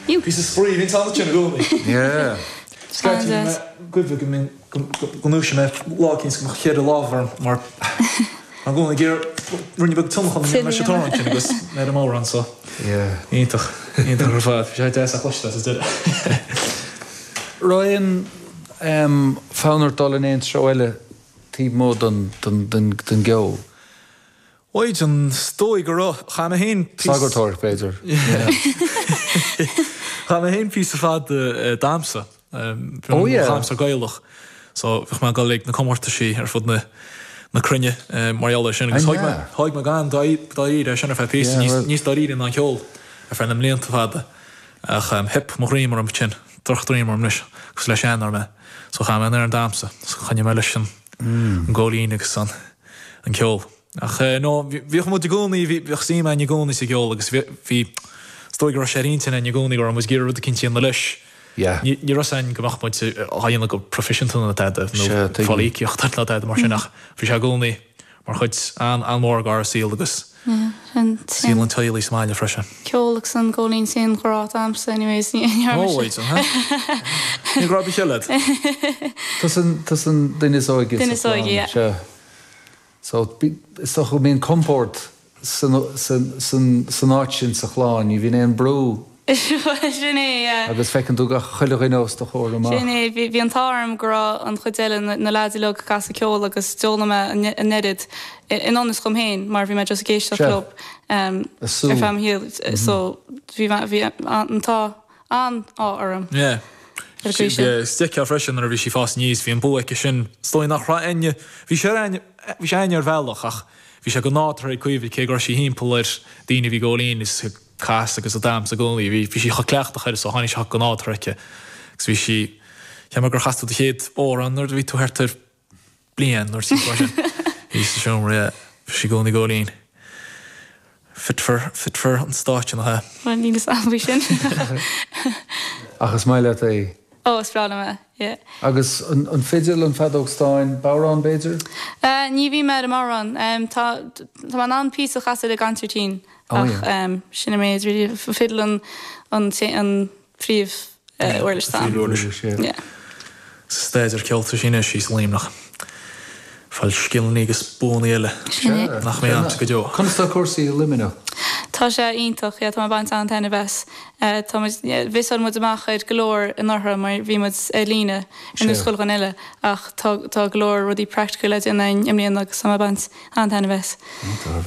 Píosa spraoi, bhí an t-am sin i gcónaí. Yeah. Scaití bhí mé goimh go mbínn, go ndúiseodh mé lá eicínt go mbeadh cheithre lámh orm mar i gcónaí ag iarraidh ruainne beag tionlacan a dhéanamh leis an t-amhrán sin agus mé ar an mbodhrán so. Yeah. Iontach, iontach ar fad. Bhí sé deas a chloisteáil sa deireadh. Raibh aon fonn ort dul in aon treo eile taobh amuigh den gceol? Mhaighdean, is dóigh go raibh. Chaith mé féin píosa. Sagartóireacht, b'fhéidir. Chaith mé féin píosa fada ag damhsa. Bhí mo dhamhsa Gaelach. So bhíodh mé ag dul ag na comórtaisí ar fud na na cruinne mar gheall air sin. Agus thóg mé thóg mé an-dáiríre é sin ar feadh píosa, níos dáiríre ná an ceol ar feadh na mblianta fada. Ach theip mo dhroim orm ansin, drochdhroim orm anois, cosúil le seanfhear mé. So chaith mé an damhsa, so choinnigh mé leis an ngóilín agus an an ceol. Ach no, bhíodh muid i gcónaí, bhíodh suim againn i gcónaí sa gceol agus bhí, is dóigh go raibh sé ar intinn againn i gcónaí go raibh muid ag iarraidh rud eicínt a dhéanamh leis. Yeah. Ní raibh fhios againn go mbeadh muid á dhéanamh go proifisiúnta nó tada, nó fáil íocaíocht nó tada mar sin ach bhí sé i gcónaí mar chuid an-mhór dár saol agus saol an teaghlaigh sa mbaile freisin. Ceol agus an góilín sin ghrá agamsa anyways ní dhearna mise. Ó, ní grá do chéile. Tusa an duine is óige sa chlann, sea. So, is dócha go mbíonn compord san áit sin sa chlann, ní bhíonn aon brú. Sin é, yeah. Agus feiceann tú gach chuile dhuine os do chomhair amach. Sin é, bhí an t-ádh orm go raibh an chuid eile, na leaids uilig ag casadh ceoil agus d'fhoghlaim mé an oiread i ngan fhios dhom féin mar bhí mé just ag éisteacht leo ar feadh mo shaoil. So, bhí an t-ádh an-ádh orm. Yeah. Ar an gcaoi sin. Is d'fheicfeá freisin nuair a bhí sí ag fás aníos, bhí an bua aici sin. Is dóigh nach raibh éinne, bhí sé ar aithne, bhí sé aithne ar bhealach ach bhí sé go nádúrtha ag Caoimhe cé go raibh sí thimpeall ar daoine a bhí ag góilín is ag casadh agus ag damhsa i gcónaí. Bhí, bhí sí chomh cleachtach air so tháinig sé go nádúrtha aici. Agus bhí sí, cheap mé gur chas tú do chéad amhrán nuair a bhí tú thart ar bliain nó timpeall mar sin. Bhí sa seomra, yeah. Bhí sí i gcónaí ag góilín. Fit for, fit for an stáitse, nach ea? Bhuel, níl fhios a'm faoi sin. Ach is maith leat é? Ó, is breá liom é, yeah. Agus an fidil, an feadóg stáin, bodhrán b'fhéidir? Ní bhím ar an mbodhrán. Tá, tá mé in ann píosa a chasadh ar an gconsairtín ach sin an méid really. Fidil an, an, an príomh uirlis atá ann. Príomhuirlis, yeah. Sa staidéar ceoil tá sí anois, í sa Luimneach. Fáil scileanna agus buanna eile nach mbeidh a'msa go deo. Conas tá cúrsaí i Luimneach? Tá sé iontach, yeah, tá mé ag baint an-taitneamh as. Tá muid, mhissáil muid amach ar go leor anuraidh mar bhí muid ar líne ar nós chuile dhuine eile ach tá tá go leor rudaí practical le déanamh againn i mbliana agus tá mé ag baint an-taitneamh as.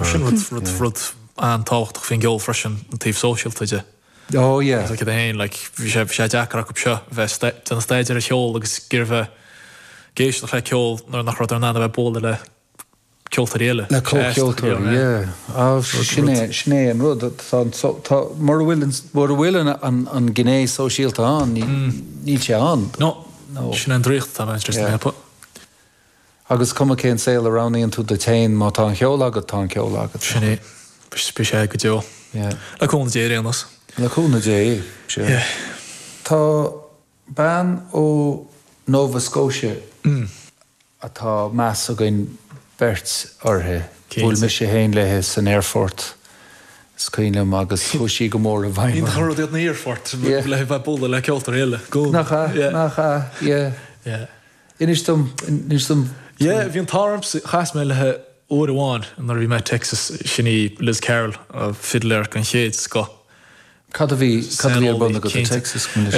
Sin rud, rud, rud an-tábhachtach faoin gceol freisin, an taobh sóisialta de. Oh yeah. Like iad féin, like, bhí sé, bhí sé deacair acu seo bheith ag déanamh staidéar ar cheol agus ag iarraidh bheith ag éisteacht le ceol nuair nach rabhadar in ann a bheith ag bualadh le ceoltóirí eile. Le comhcheoltóirí, yeah. Ah, sin é, sin é an rud. Tá an, tá, mura bhfuil an, mura bhfuil an, an, an gné sóisialta ann, ní, níl sé ann. No. No. Sin é an draíocht atá ag baint leis na hEpa. Agus cuma cén saol a roghnaíonn tú duit féin, má tá an ceol agat, tá an ceol agat. Sin é. Beidh sé go deo. Yeah. Le cúnamh Dé ar aon nós. Le cúnamh Dé, sea. Yeah. Tá bean ó Nova Scotia atá meas againn beirt uirthi. Bhuail mise féin léi san aerfort, is cuimhin liom, agus chuaigh sí go mór i bhfeidhm orm. Iontach an rud iad na haerfoirt, le bheith ag bualadh le ceoltóirí eile. Nach ea? Nach ea? Yeah. Yeah. Inis dom, inis dom. Yeah, bhí an t-ádh ormsa, chas mé léi uair amháin nuair a bhí mé i Texas, sin í Liz Carroll, fidléir den chéad scoth. Cad a bhí, cad a bhí ar bun agat i Texas, go minic?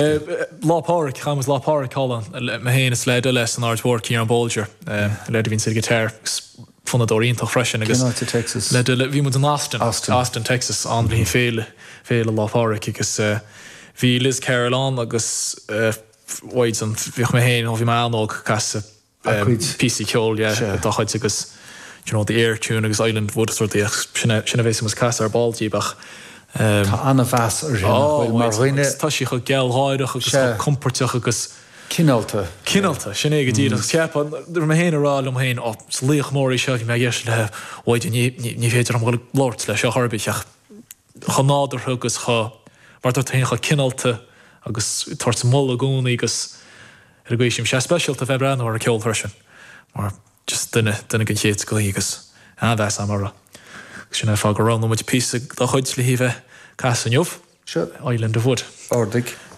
Lá Pádraig, chaith muid Lá Pádraig thall ann, mé féin is leaid eile as an Aird Mhór, Ciarán Bolger, leaid a bhíonns ar guitar agus fonnadóir iontach freisin agus Cén áit i Texas? leaid eile, bhí muid in Austin, Austin. Austin, Texas, ann le haghaidh féile, féile Lá Pádraig agus bhí Liz Carroll ann agus Mhaighdean, bhíodh mé féin, ó bhí mé an-óg, ag casadh píosaí ceoil, yeah, dá chuid agus do you know, the Air Tune agus Island Wood is rudaí ach sin é, sin a bhéas muid ag casadh ar ball díobh ach ehm. Tá an-mheas uirthi, nach bhfuil, mar dhuine. Tá sí chomh gealgháireach agus chomh compordach agus. Cineálta. Cineálta, sin é go díreach. Agus cheapfá, raibh mé féin ag rá liom féin, ó, is laoch mór í seo, bhí mé ag éisteacht léi, Mhaighdean, ní, ní, ní féidir liom dhul ag labhairt léi seo chor ar bith ach chomh nádúrtha agus chomh, mar a dúirt tú féin, chomh cineálta agus ag tabhairt moladh i gcónaí agus ar an gcaoi sin. Bhí sé speisialta a bheith ag breathnú ar an ceol freisin mar just duine, duine den chéad scoth í agus an-mheas agam uirthi. Agus sin é an fáth gur roghnaigh muid píosa dá chuid le hí a bheith ag casadh inniu. Seo. Island of Wood. Ardaigh.